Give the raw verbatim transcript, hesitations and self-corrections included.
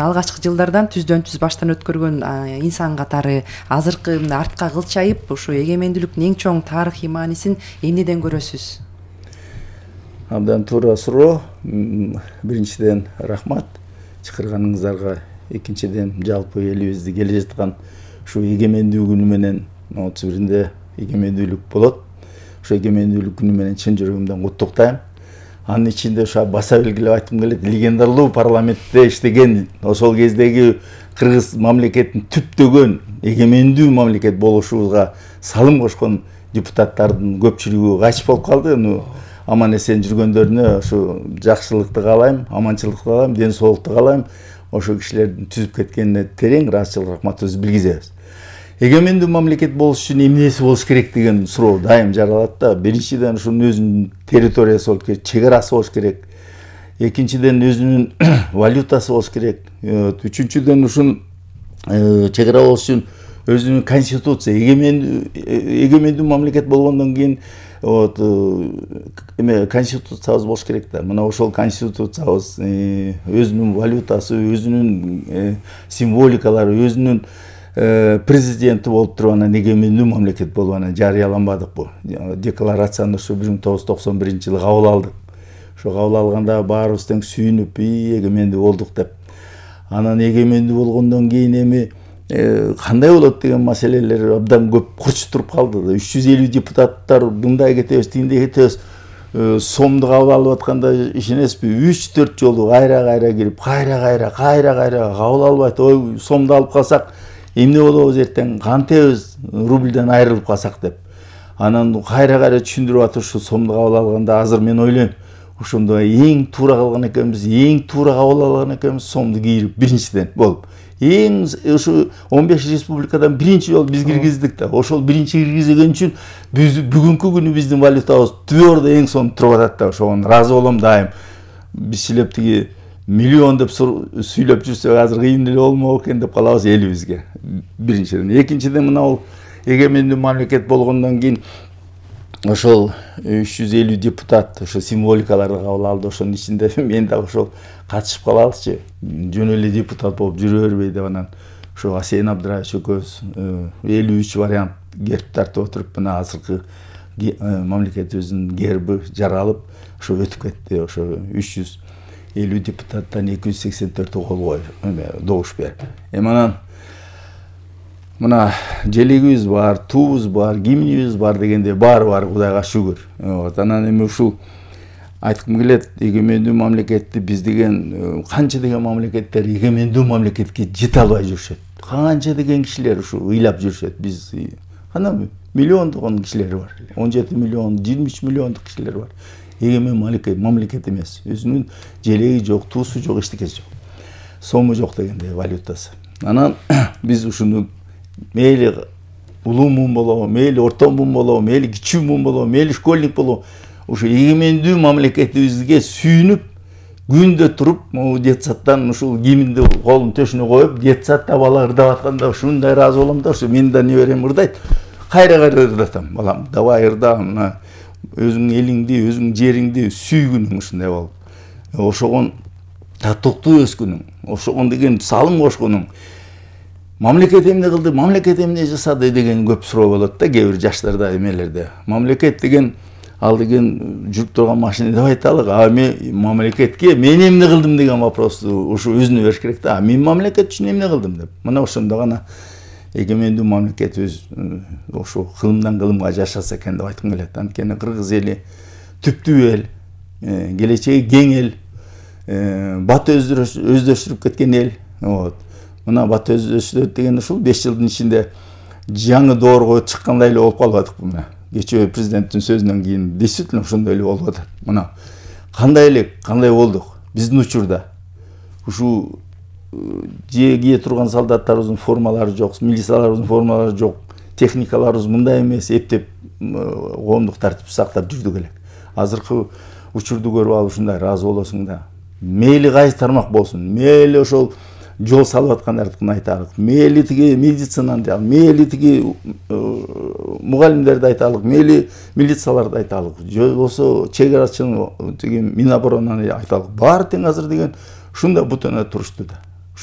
алгачкы жылдардан түздөн түз баштан өткөргөн инсан катары азыркы артка кылчайып, ушу эгемендүүлүктүн эң чоң тарыхый маанисин эмнеден көрөсүз? Абдан туура суроо. Биринчиден рахмат чакырганыңыздарга, экинчиден жалпы элибизде келе жаткан ушу эгемендүү күнү менен отуз биринде эгемендүүлүк болот. Ушу эгемендүүлүк күнү менен чын жүрөгүмдөн куттуктайм. Анын ичинде ушу баса белгилеп айткым келет, легендарлуу парламентте иштеген, ошол кездеги кыргыз мамлекетин түптөгөн эгемендүү мамлекет болушубузга салым кошкон депутаттардын көпчүлүгү кайтыш болуп калды. Аман эсен жүргөндөрүнө ушу жакшылыкты каалайм, аманчылыкты каалайм, ден соолукту каалайм. Ошол кишилердин түзүп кеткенине терең ыраазычылык, рахматыбызды билгизебиз. Эгемендүү мамлекет болуш үчүн эмнеси болуш керек деген суроо дайым жаралат да. Биринчиден ушунун өзүнүн территориясы болуш керек, чек арасы болуш керек. Экинчиден өзүнүн валютасы болуш керек. Үчүнчүдөн ушун чек ара болуш үчүн өзүнүн конституция, эгемендүү эгемендүү мамлекет болгондон кийин вот эме конституциябыз болуш керек да. Мына ошол конституциябыз, өзүнүн валютасы, өзүнүн символикалары, өзүнүн президенти болуп туруп анан эгемендүү мамлекет болуп анан жарыяланбадык бу. Декларацияны ушу бир миң тогуз жүз токсон биринчи жылы кабыл алдык. Ошо кабыл алганда баарыбыз тең сүйүнүп, эгемендүү болдук деп. Анан эгемендүү болгондон кийин эми кандай болот деген маселелер абдан көп курчуп туруп калды. үч жүз элүү депутаттар мындай кетебиз, тигиндей кетебиз. Сомду кабыл алып атканда ишенесизби, үч төрт жолу кайра-кайра кирип, кайра-кайра, кайра-кайра кабыл албайт. Ой, сомду алып калсак эмне болобуз эртең, кантебиз рубльден айрылып калсак деп. Анан кайра-кайра түшүндүрүп атып ушу сомду кабыл алганда азыр мен ойлойм, ошондо эң туура кылган экенбиз, эң туура кабыл алган экенбиз сомду кийирип биринчиден болуп. Эң ушу он беш республикадан биринчи жолу биз киргиздик да. Ошол биринчи киргизген үчүн биз бүгүнкү күнү биздин валютабыз түбөрдө эң сонун туруп атат да. Ошого ыраазы болом дайым. Биз силеп тиги миллион деп сүйлөп жүрсөк азыр кыйын эле болмок экен деп калабыз элибизге. Биринчиден, экинчиден мына бул эгемендүү мамлекет болгондон кийин ошол үч жүз элүү депутат ошо символикаларды кабыл алды. Ошонун ичинде мен да ошол катышып калалычы, жөн эле депутат болуп жүрө бербей деп анан ошо Асен Абдыраевич экөөбүз элүү үч вариант герб тартып отуруп мына азыркы мамлекетибиздин герби жаралып ошо өтүп кетти. Ошо үч жүз элүү депутаттан эки жүз сексен төртү кол коюп эме добуш берип. Эми анан мына желегибиз бар, туубуз бар, гимнибиз бар дегенде баары бар, Кудайга шүгүр. Вот анан эми ушул айткым келет, эгемендүү мамлекетти биз деген канча деген мамлекеттер эгемендүү мамлекетке жете албай жүрүшөт. Канча деген кишилер ушу ыйлап жүрүшөт. Биз кана миллиондогон кишилер бар. он жети миллион, жыйырма үч миллиондук кишилер бар. Эгемен мамлекет, мамлекет эмес. Өзүнүн желеги жок, туусу жок, эчтекеси жок. Сому жок дегенде валютасы. Анан биз ушуну мейли улуу муун болобу, мейли орто муун болобу, мейли кичүү муун болобу, мейли школьник болобу, ушу эгемендүү мамлекетибизге сүйүнүп, күндө туруп, могу детсадтан ушул гимнди колун төшүнө коюп, детсадда бала ырдап атканда ушундай ыраазы болом да, ушу мен да неберем ырдайт. Кайра-кайра ырдатам. Балам, давай ырда, мына өзүңүн элиңди, өзүңүн жериңди сүйгүнүң ушундай болуп. Ошогон татыктуу өскүнүң, ошогон деген салым кошконуң. Мамлекет эмне кылды, мамлекет эмне жасады деген көп суроо болот да кээ бир жаштарда, эмелерде. Мамлекет деген ал деген жүрүп турган машина деп айталык. А мен мамлекетке мен эмне кылдым деген вопросту ушу өзүнө бериш керек да. Мен мамлекет үчүн эмне кылдым деп. Мына ошондо гана эгемендүү мамлекет өз ошо кылымдан кылымга жашаса экен деп айткым келет. Анткени кыргыз эли түптүү эл, келечеги кең эл, бат өздөштүрүп кеткен эл. Вот. Мына бат өздөштүрөт деген ушул беш жылдын ичинде жаңы доорго чыккандай эле болуп калып атык мына. Кечээ президенттин сөзүнөн кийин действительно ошондой эле болуп атат. Мына кандай эле, кандай болдук? Биздин учурда ушу же кие турган солдаттарыбыздын формалары жок, милицияларыбыздын формалары жок, техникаларыбыз мындай эмес, эптеп коомдук тартип сактап жүрдүк элек. Азыркы учурду көрүп алып ушундай ыраазы болосуң да. Мейли кайсы тармак болсун, мейли ошол жол салып аткандардыкын айталык, мейли тиги медицинаны айталык, мейли тиги мугалимдерди айталык, мейли милицияларды айталык, же болсо чек арачыны тиги Миноборонаны айталык. Баары тең азыр деген ушундай бутана турушту да.